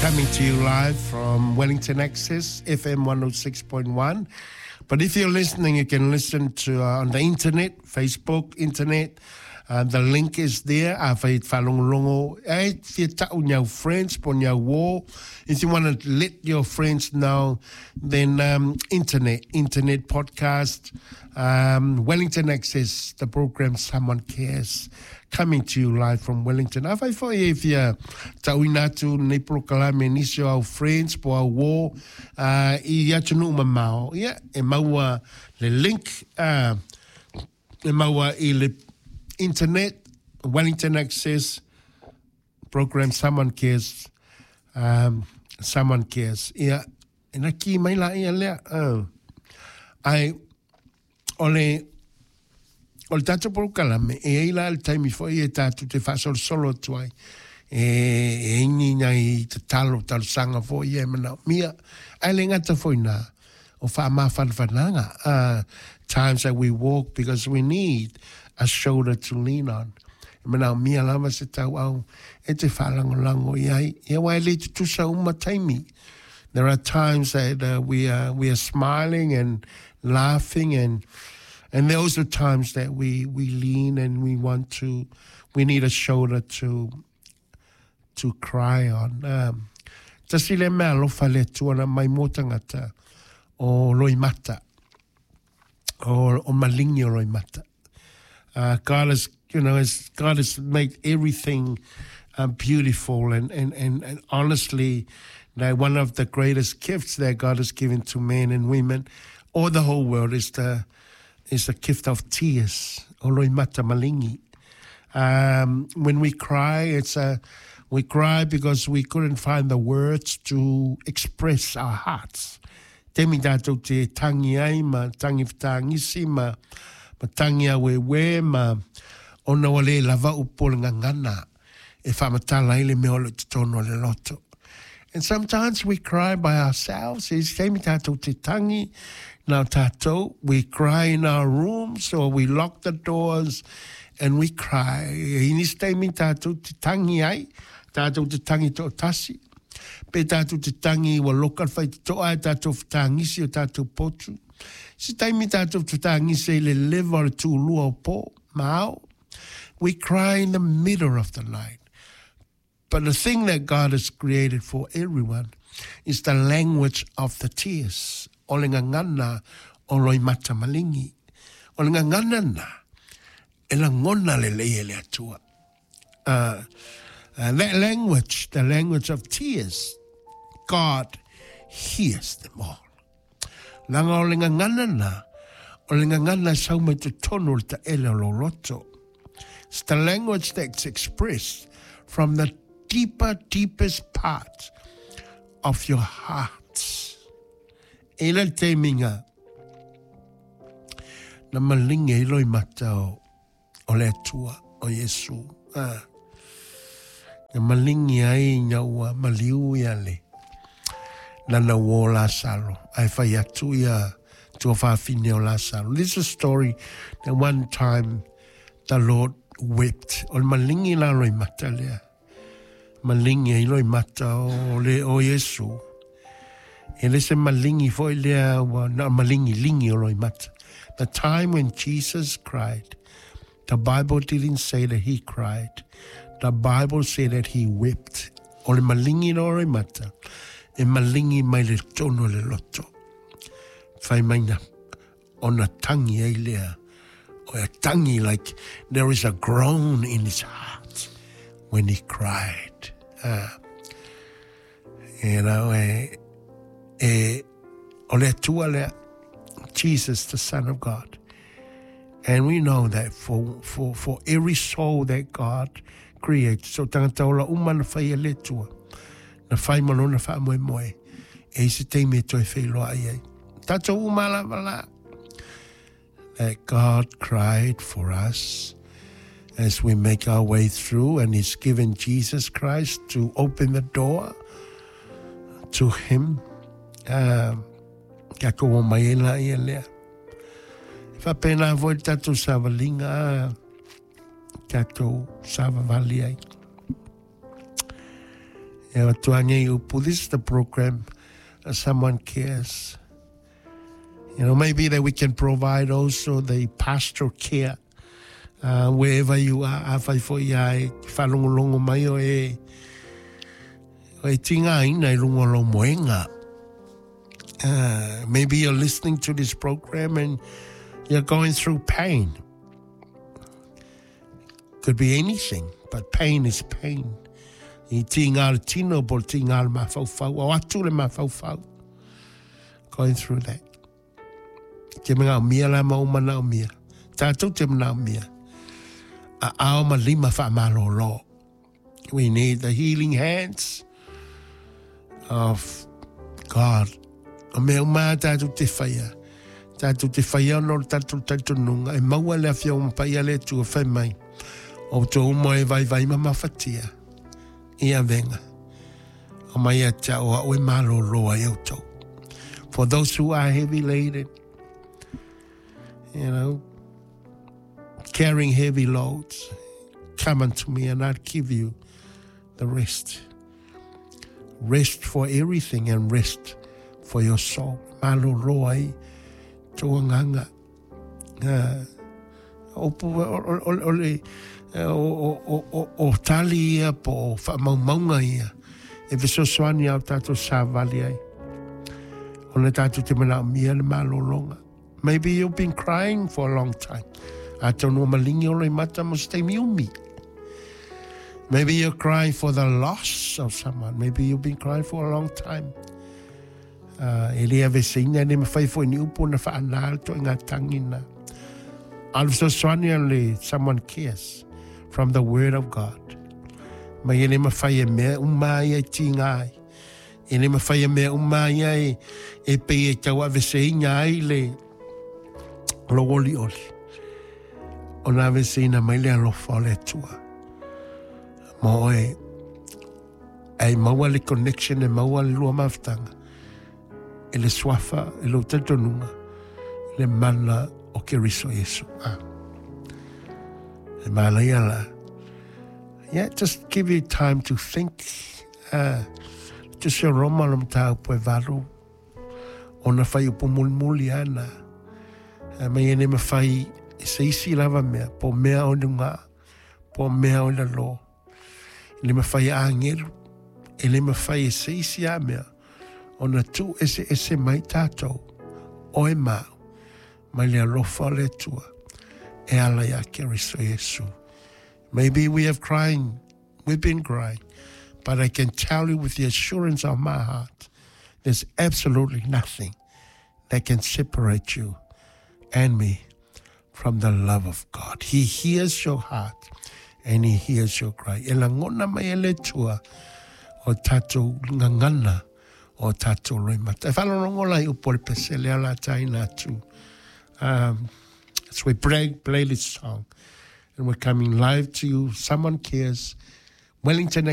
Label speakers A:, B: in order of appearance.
A: Coming to you live from Wellington Access, FM 106.1. But if you're listening, you can listen to uh, on the internet, Facebook, internet. Uh, the link is there. Afai whalongolongo, e fia ta'u niau friends, po niau wō. If you want to let your friends know, then um, internet, internet podcast, um, Wellington Access, the program Someone Cares, coming to you live from Wellington. Afai foi e fia ta'uina atu nei polokalame nisi o au friends po au wō, uh, i atunuu mamao. Ia, e maua le link, uh, e maua i le internet, Wellington Access, program Someone Cares, um, Someone Cares. Ia, e na ki mai la ia lea. Uh, ai, o le, o le tātou polokalame, e ai la le taimi foi e tātou te faasolosolo atu ai. E, e ini nai tatalo, talosaga foi ia e manaomia. Ae le gata foi nā, o faamafanafanaga, uh, times that we walk because we need a shoulder to lean on. E manaomia lava se tauau e te faalagolago i ai. Ia aua e le tutusa uma taimi. There are times that uh, we are we are smiling and laughing and and there are also times that we we lean and we want to we need a shoulder to to cry on. Um, tasi le mea alofa le Atua na mai mō tangata o loimata, o, o malingi o loimata. Uh, God has, you know, has, God has made everything uh, beautiful and, and, and, and honestly, that one of the greatest gifts that God has given to men and women or the whole world is the, is the gift of tears, o loimata malingi. Um, when we cry, it's a, we cry because we couldn't find the words to express our hearts. Taimi tātou te tangi ai ma tangi whataangisi ma, ma tangi awēwē ma ona ua le lava upu o le gagana e faamatala ai le mea o lo o i totonu o le loto. And sometimes we cry by ourselves, i isi taimi tātou te tangi nā tātou, we cry in our rooms or we lock the doors and we cry. I nisi taimi tātou te tangi ai, tātou te tangi toatasi, pe tātou te tangi ua loka le faitotoa e tātou whataangisi o tātou potu. Isi taimi tātou te whataangisi i le leva o le tūlua o pō, ma ao. We cry in the middle of the night. But the thing that God has created for everyone is the language of the tears, o le gagana o loimata malingi. O le gagana na, e lagona lelei e le Atua. Uh, uh, that language, the language of tears, God hears them all. Leaga o le gagana na, o le gagana e sau mai totonu o le taele o lou loto. It's the language that's expressed from the deeper, deepest part of your heart. E le taimi nga, na malingi ai loimata o o le Atua, o Iesu. A, na malingi ai ina ua maliu ia le lana uō Lasalo, ae fai atu ia tuafafine o Lasalo. This is a story that one time the Lord wept. O le malingi la loimata lea. Malingi ai loimata o le o Iesu. E le se malingi foi lea ua na malingi lingi o loimata. The time when Jesus cried, the Bible didn't say that he cried. The Bible said that he wept. O le malingi la o loimata, e malingi mai le tonu o le loto. Fai mai na ona tangi ai lea. O e tangi like there is a groan in his heart when he cried. Uh, you know, e, e, o le Atua lea, Jesus, the Son of God. And we know that for, for, for every soul that God creates, so tangata ola uma na whai e le Atua, na whai ma lona whaamoemoe, e i se taimi e toe whailoa ai ai. Tātou uma lava la, that God cried for us as we make our way through, and He's given Jesus Christ to open the door to Him. Uh, kia kou o mai e la ia lea. E whapena foi le tātou savalinga, tātou savavali ai. E avatua nei upu, this is the program, Someone Cares. Maybe that we can provide also the pastoral care wherever you are. Afai foi ia e whalongolongo mai o e o e tinga ina i lunga lo moenga. Maybe you're listening to this program and you're going through pain. Could be anything, but pain is pain. I tinga le tino po le tinga le mafaufau, o atu le mafaufau. Going through that. Te mga mia la maumana o mia. Tātou te mana o mia. A ao ma lima wha malolo. We need the healing hands of God. O mea uma tātou te whaia. Tātou te whaia ono le tātou tātou nunga. E maua le awhia o mapai ale tua whai mai. O tō umo e vai vai ma mawhatia. Ia venga. O mai a tia o a oe malolo ai au tau. For those who are heavy laden, carrying heavy loads, come unto me and I'll give you the rest. Rest for everything and rest for your soul. Malolo ai tō nganga. Opu o le o tali ia po o whaamaumaunga ia. E fesoasoani au tātou sāvali ai. O le tātou te mana o mia le malolonga. Maybe you've been crying for a long time. A tonu malingi o le mata mo se taimi umi. Maybe you're crying for the loss of someone. Maybe you've been crying for a long time. E lea veseina ne mawhai fo ni upo na whaanal to ngā tangina. Alfesoasoani le someone cares from the word of God. Mai e le mawhai e mea uma ia ti ngai. E le mawhai e mea uma ia e pe e tau aveseina ai le lo oli oli. O na aveseina mai le alofa o le tua. Mo e ai maua le connection e maua le lua mafutanga. E le swafa, e lo tetonunga, le mana o Keriso Yesu. Ah. E mana ia la. Yeah, just give you time to think. Te se Roma lo mtau po e valu. O na whai upo muli ana. Mai e ne mawhai e se isi lava mea, po mea o nunga, po mea o lalo. E le mawhai a angelu, e le mawhai e se isi a mea. O na tu ese ese mai tātou, o e mau, mai le alofa o le tua, e ala ia Keriso Yesu. Maybe we have crying, we've been crying, but I can tell you with the assurance of my heart, there's absolutely nothing that can separate you and me from the love of God. He hears your heart and he hears your cry. E langona mai e le tua o tātou ngangana o tātou roi mata. E whalongo lai upo le pesele ala taina atu. So we play this song and we're coming live to you. Someone Cares. Wellington